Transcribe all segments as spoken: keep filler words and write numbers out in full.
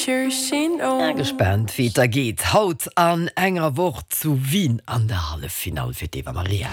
sure she knows. Ja, gespaant wéi et da geet haut an enger Woch zu Wien an der Halleffinall fir d'Eva Maria.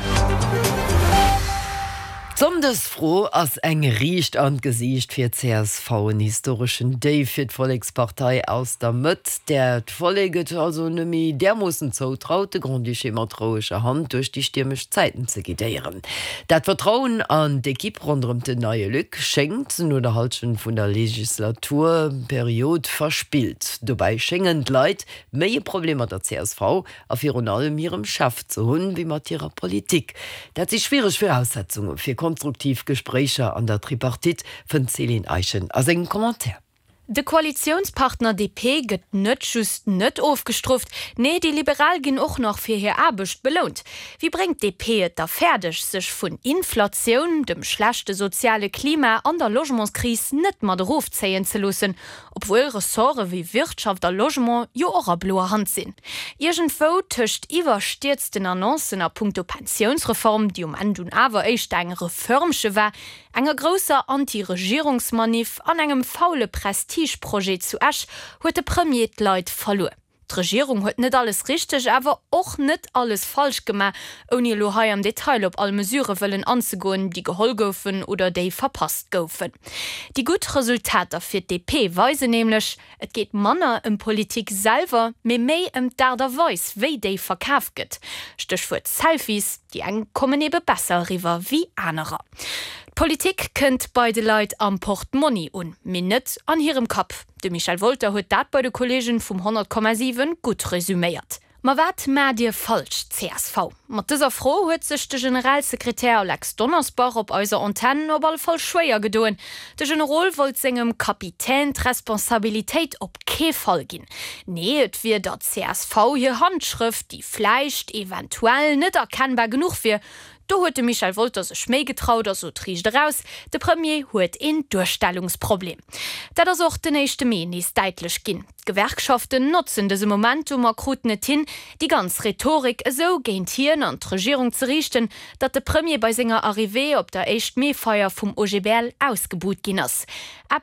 D'Sonndesfro ass eng riicht an d'Gesiicht fir d'CSV, en historeschen Déif fir d'Vollekspartei aus der Mëtt, där d'Vollek et also net méi därmoossen zoutraut, de Grand-Duché mat roueger Hand duerch déi stiermesch Zäiten ze guidéieren. Dat Vertrauen an d'Ekipp ronderëm den neie Luc schéngt no der Hallschent vun der Legislaturperiod verspillt. Dobäi schéngen d'Leit méi e Problem mat der csv a virun allem hirem Chef ze hunn, wéi mat hirer Politik. Dat si schwiereg Viraussetzunge fir konstruktiv Gespréicher an der Tripartite, fënnt d'Céline Eischen a sengem Commentaire. De Koalitiounspartner DP gëtt net just net ofgestrooft, nee déi Liberal ginn och nach fir hir Aarbecht belount. Wéi bréngt d'DP et da fäerdeg, sech vun Inflatioun, dem schlechte soziale Klima an der Logementskris net mat erofzéien ze loossen, obwuel Ressorte wéi Wirtschaft a Logement jo och a bloer Hand sinn? Iergendwou tëscht iwwerstierzten Annoncen a punkto Pensiounsreform, déi um Enn dunn awer éischter eng Reförmche war, enger grousser Anti-Regierungsmanif an engem faule Prestigeprojet zu Esch huet de Premier d'Leit verluer. D'Regierung huet net alles richteg, awer och net alles falsch gemaach, ouni elo hei am Detail op all Mesure wëllen anzegoen, déi geholl goufen oder déi verpasst goufen. Déi gutt Resultater fir d'DP weisen nämlech, Et geet manner ëm Politik selwer, mee méi ëm d'Aart a Weis, wéi déi verkaf gëtt. Stéchwuert Selfies, déi eng kommen ebe besser eriwwer wéi anerer. D'Politik kënnt bei de Leit am Portmonni un, mee net an hirem Kapp. De Michel Wolter huet dat bei de Kolleegen vum honnert Komma siwen gutt resüméiert. Ma wat maacht Dir falsch, csv? Mat dëser Fro huet sech de Generalsekretär Alex Donnersbach op eiser Antenn op alle Fall schwéier gedoen. De Generol wollt sengem Kapitän d'Responsabilitéit op kee Fall ginn. Nee, et wier der csv hir Handschrëft, déi vläicht, eventuell, net erkennbar genuch wier. Do huet de Michel Wolter sech méi getraut a sot riicht eraus, De Premier huet een Duerstellungsproblem. Dat ass och den éischte Mee nees däitlech ginn. D'Gewerkschaften notzen dëse Momentum a kruten et hin, déi ganz Rhetorik esou géint hien an d'Regierung ze riichten, datt de Premier bei senger Arrivée op der Éischt-Mee-Feier vum OGBL ausgebuht ginn ass. Eppes,